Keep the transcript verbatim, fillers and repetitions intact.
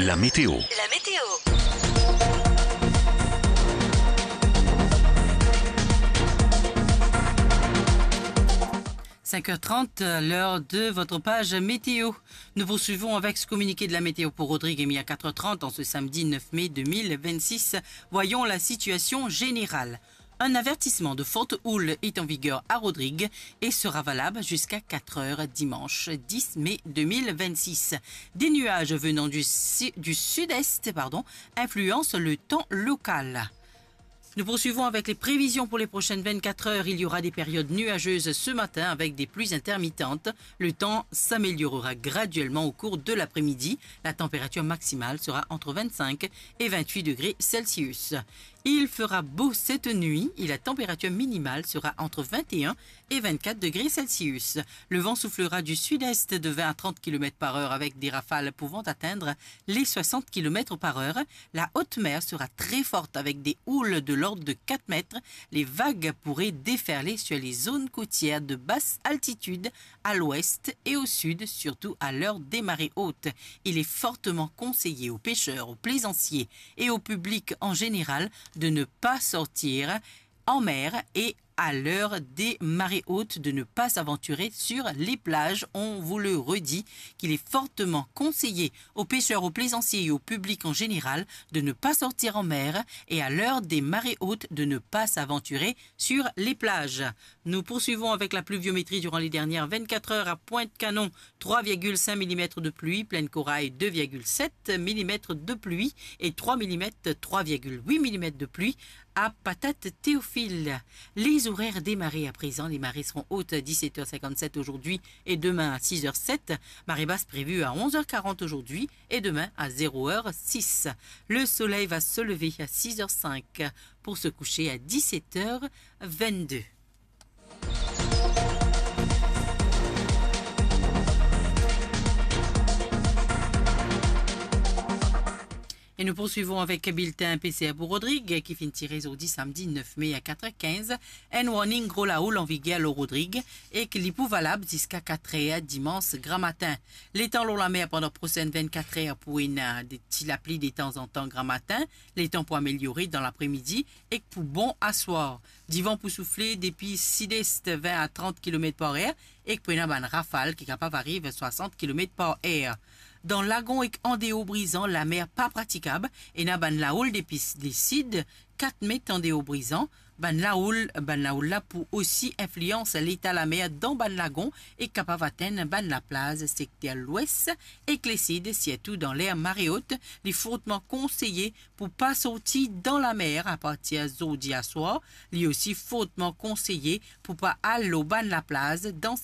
La météo. La météo. Cinq heures trente, l'heure de votre page météo. Nous poursuivons avec ce communiqué de la météo pour Rodrigues émis à quatre heures trente en ce samedi neuf mai deux mille vingt-six. Voyons la situation générale. Un avertissement de forte houle est en vigueur à Rodrigues et sera valable jusqu'à quatre heures dimanche dix mai deux mille vingt-six. Des nuages venant du si-, du sud-est, pardon, influencent le temps local. Nous poursuivons avec les prévisions pour les prochaines vingt-quatre heures. Il y aura des périodes nuageuses ce matin avec des pluies intermittentes. Le temps s'améliorera graduellement au cours de l'après-midi. La température maximale sera entre vingt-cinq et vingt-huit degrés Celsius. Il fera beau cette nuit et la température minimale sera entre vingt et un et vingt-quatre degrés Celsius. Le vent soufflera du sud-est de vingt à trente kilomètres par heure avec des rafales pouvant atteindre les soixante kilomètres par heure. La haute mer sera très forte avec des houles de l'ordre de quatre mètres. Les vagues pourraient déferler sur les zones côtières de basse altitude à l'ouest et au sud, surtout à l'heure des marées hautes. Il est fortement conseillé aux pêcheurs, aux plaisanciers et au public en général de ne pas sortir en mer et à l'heure des marées hautes de ne pas s'aventurer sur les plages. On vous le redit qu'il est fortement conseillé aux pêcheurs, aux plaisanciers et au public en général de ne pas sortir en mer et à l'heure des marées hautes de ne pas s'aventurer sur les plages. Nous poursuivons avec la pluviométrie durant les dernières vingt-quatre heures à Pointe-Canon, trois virgule cinq millimètres de pluie, Plaine Corail, deux virgule sept millimètres de pluie et trois millimètres, trois virgule huit millimètres de pluie à Patate-Théophile. Les horaires des marées à présent. Les marées seront hautes à dix-sept heures cinquante-sept aujourd'hui et demain à six heures sept. Marée basse prévue à onze heures quarante aujourd'hui et demain à zéro heure six. Le soleil va se lever à six heures cinq pour se coucher à dix-sept heures vingt-deux. E nou poursuivon avek biltin P C R pou Rodrig, ki finn tire zordi samdi nef me a kat er kinz. Enn warning gro laoul an viger lor Rodrig, ek li pou valab ziska kat er dimans gramatin. Letan lor lamer pandan prosenn vennkat er pou ena de ti lapli detanzantan gramatin, letan pou ameliore dan lapremidi ek pou bon aswar. Divan pou soufle depi sid-est, vin a trant kilomet par er, ek pou ena bann rafal ki kapav ariv swasant kilomet par er. Dan lagon ek andeor Brizan, lamer pa pratikab, ena bann laoul depi s-, lesid, kat met andeor Brizan. Bann laoul, bann laoul la pou osi inflians leta lamer dan bann lagon ek kapav atenn bann laplaz sekter lwes ek lesid, sirtou dan ler mare ot. Li fortman konseye pou pa sorti dan lamer apartir zordi aswar. Li osi fortman konseye pou pa al lor bann laplaz dan